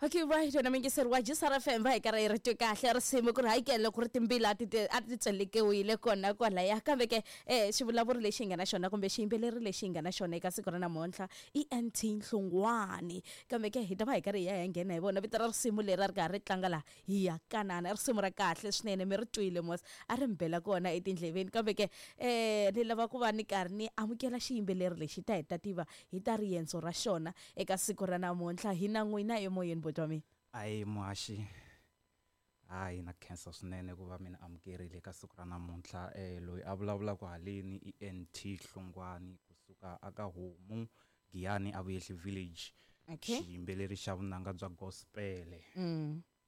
Okay, right, wena mingiseri wa Jisara FM, va hi karhi hi ri twe kahle risimu ku ri hakele loko ri timbila a ti tselekiwile kona kwalaya. Kambe ke xivulavuri lexi hi nga na xona kumbe xiyimbeleri lexi hi nga na xona eka siku ra namuntlha i NT Nhlungwani. Kambe ke hi ta va hi karhi hi ya hi ya nghena hi vona vito ra risimu leri a ri karhi ri tlanga laha, hi ya kanana. I risimu ra kahle swinene, mi ri twile mos, a ri mi bela kona etindleveni. Kambe ke ni lava ku va ni karhi ni amukela xiyimbeleri lexi ta hi ta tiva hi ta riendzo ra xona eka siku ra namuntlha. Hi na n'wina emoyeni, buti wa mina. Ahi muhaxi, hayi na khensa swinene ku va mi ni amukerile eka siku ra namuntlha. Loyi a vulavulaka haleni i NT Hlungwani kusuka aka Homu Giyani a Vuyehli Village. Xiyimbeleri xa vunanga bya gospel.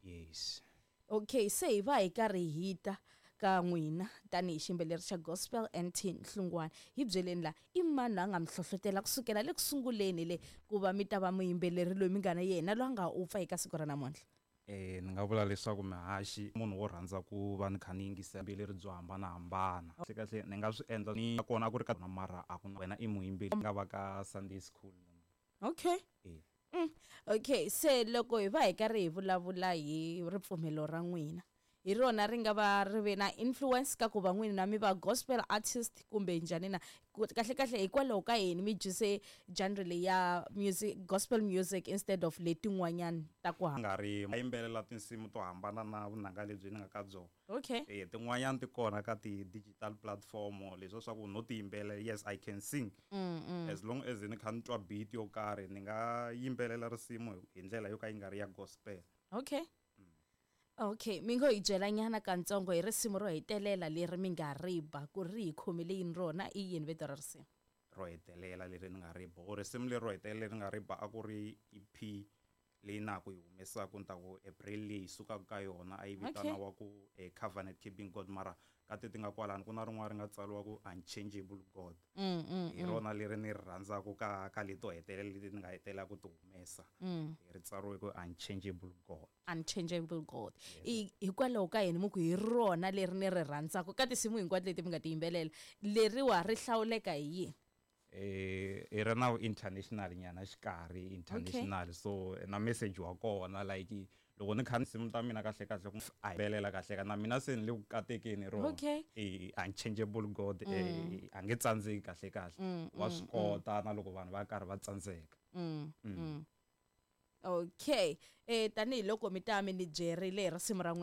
Yes. Okay, se hi va hi karhi hi ta ka n'wina tanihi xiyimbeleri xa gospel NT Nhlungwani. Hi byeleni la, i mani loyi a nga mi hlohlotela kusukela le ku sunguleni le ku va mi ta va muyimbeleri loyi mi nga na yena loyi a nga u pfa eka siku ra namuntlha? Ni nga vula leswaku mihaxi munhu wo rhandza ku va ni kha ni yingisela vuyimbeleri byo hambanahambana. Kahle kahle ni nga swi endla ni kona a ku ri ka mara a ku na wena i muyimbeleri nga va ka Sunday school. Okay. Okay, se loko hi va hi karhi hi vulavula hi ripfumelo ra n'wina, hi rona ri nga va ri ve na influence ka ku va n'wina mi va gospel artist kumbe njhani na? Kahle kahle hikwalaho ka yini mi dyise genre leyi ya music, gospel music, instead of letin'wanyana ta ku nga ri yimbelela tinsimu to hambana na vunanga lebyi ni nga ka byona. Tin'wanyana ti kona ka ti-digital platform leswiya swa ku no ti yimbelela, yes, I can sing. As long as ni kha ni twa beat yo karhi, ni nga yimbelela risimu hi ndlela yo ka yi nga ri ya gospel. Okay. Okay, mi ngo hi byela nyana katsongo hi risimu ro hetelela leri mi nga ri ba, ku ri hi khomile yini rona, i yini vito ra risimu? Ro hetelela leri ni nga ri ba, o risimu leri ro hetelela leri ni nga ri ba a ku ri EP leyi na ha ku yi humesaka, ni ta ku April leyi hi sukaka ka yona, a yi vitaniwa ku Covenant Keeping God, mara ka ti ti nga kwalano ku na rin'wana ri nga tsariwa ku Unchangeable God. Hi rona leri ni ri rhandzaka ka leto hetelela leti ni nga hetelela ku ti humesa. Ri tsariwe ku Unchangeable God. Unchangeable God. I hikwalaho ka yini mi ku hi rona leri ni ri rhandzaka ka tinsimu hinkwato leti mi nga ti yimbelela, leriwa ri hlawuleka hi yini? I ri na international nyana xikarhi international. So na message wa kona, like loko ni kha tinsimu ta mina kahle kahle ku a yimbelela kahle ka na mina se ni le ku katekeni rona. Unchangeable God, a nge tsandzeki kahle kahle, wa swi kota na loko vanhu va karhi va tsandzeka. Okay, tanihiloko mi ta mi ni byerile hi risimu ra n'wina.